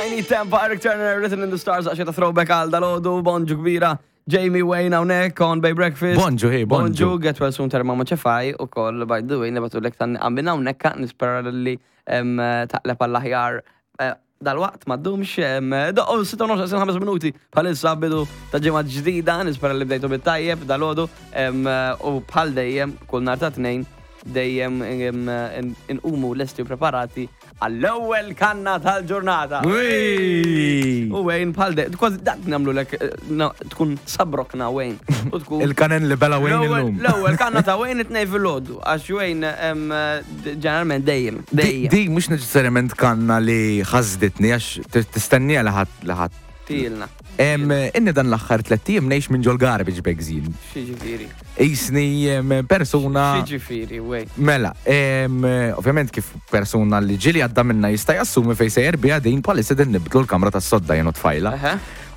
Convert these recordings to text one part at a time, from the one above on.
Tiny Tempa, Eric Turner, Written in the Stars, għaxi ta' throwback għal dal-ħodu, bonġu kbira. Jamie Wayne hawnhekk on Bay Breakfast. Bonġu, hey, bonġu. Bonġu, get well soon terma ma ċefaj u koll, by the way, nibatu lek tan għambin hawnhekk nispera li taqleb għall-aħjar eh, dal-waqt ma ddumx, doqqo 6:05 minuti bħalissa bidu ta' ġimgħa ġdida, nispera li bdejtu bit-tajjeb dal-għodu u bħal dejjem kull nhar ta' tnejn dejjem inqumu lesti u preparati għall-ewwel kanna tal-ġurnata. U Wayne bħal dejjem, kważi dak nagħmlu lek eh, tkun sabrokna Wayne. U tkun Il-kanen li bela Wayne illum. L-ewwel kanna ta' Wayne it-tnejn fil-għodu, għax Wayne ġeneralment dejjem, dejjem. Di mhux neċessarjament kanna li ħasditni għax tistennija li ħadd li ħadd. Tilna. Inni dan l-aħħar tlett ijiem ngħix minn ġol garbage bags jien. X'jiġifieri? Qisni persuna. X'jiġifieri, wej? Mela, ovvjament kif persuna li ġieli għadda minna jista' jassumi fejn sejjer biha din bħalissa din nibdlu l-kamra tas-sodda jien u tfajla.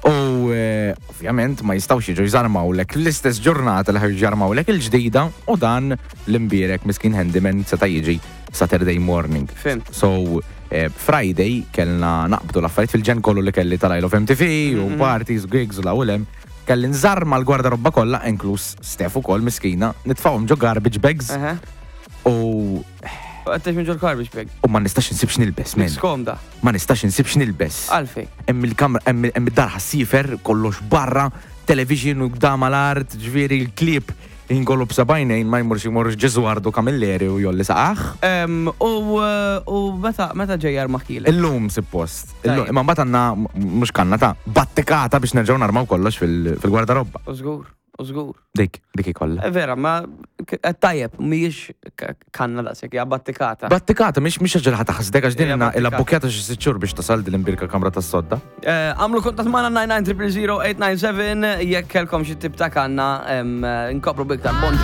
U eh, ovvjament ma jistgħux jiġu jżarmawlek l-istess ġurnata li ħarġu jarmawlek il-ġdida u dan l-imbierek miskin handyman seta' jiġi Saturday morning. Fimt. So, eh, Friday kellna naqbdu l-affarijiet fil-ġen kollu li kelli tal-Isle of MTV u mhm. parties, gigs u l-awlem. Kelli nżarma l-gwardarobba kollha, inkluż Steph ukoll miskina, nitfgħuhom ġo garbage bags. U Għattax minn ġol garbage bag. U ma nistax insib x'nilbes, men. Skomda. Ma nistax insib x'nilbes. Għalfej. Hemm il-kamra, hemm id-dar ħassifer, kollox barra, television u dama l-art, ġifieri l-klieb inkollu b'sebgħinejn ma jmurx imur Ġeżwardu Camilleri u jolli saqah. U meta meta ġej jarmaħkilek? Illum suppost. Imma mbagħad għandna mhux kanna ta' battikata biex nerġgħu narmaw kollox fil-gwardarobba. U żgur, u żgur. Dik, dik ikollha. Eh, vera, ma eh, tajjeb, mhijiex kanna daqshekk, hija battikata. Battikata, mhix mhix ħaġa li ħataħsdek għax din ilha bbukjata xi sitt xhur biex tasal din l-imbirka kamra tas-sodda. Eh, għamlu kuntatt magħna 99 000 897 jekk kellkom xi tip ta' kanna nkopru biktar bonġu.